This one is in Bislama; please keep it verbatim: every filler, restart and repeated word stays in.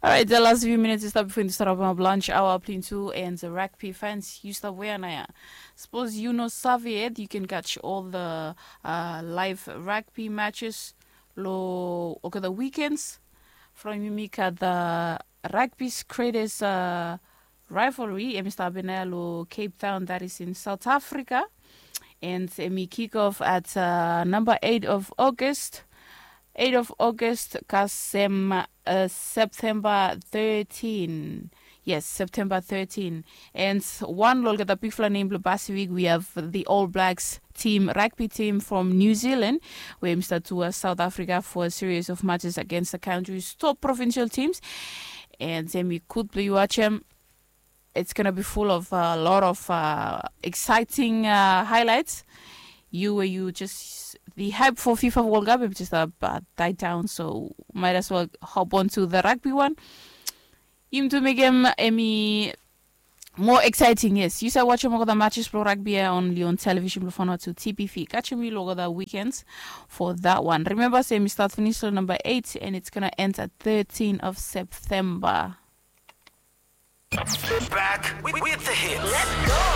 Alright, the last few minutes is up before the start of our lunch hour. Plin tu and the rugby fans, yu stap wea na ya? Suppose yu no save yet, yu can catch all the uh, live rugby matches lo olgeta weekends from yumi gat the rugby's greatest uh, rivalry, em i stap hapena ya lo Cape Town, that is in South Africa. And em i kick off at uh, number eight of August. Eight of August kasem uh, September thirteen. Yes, September thirteen. And one lo olgeta bigfala nem blo Pacific, we have the All Blacks team, rugby team from New Zealand, where em i stap tour South Africa for a series of matches against the country's top provincial teams. And em i gud blo yu watch em. It's gonna be full of a lot of uh, exciting uh, highlights. You where you just the hype for FIFA World Cup, it just uh, uh, died down. So might as well hop on to the rugby one. Im tu mekem em i more exciting, yes. Yu save watch em olgeta matches blo rugby ya only on television blo Vanuatu T P V. Catch em lo olgeta weekends for that one. Remember, say mi start finish lo number eight, and it's gonna end at thirteen of September. Back with, with the hits.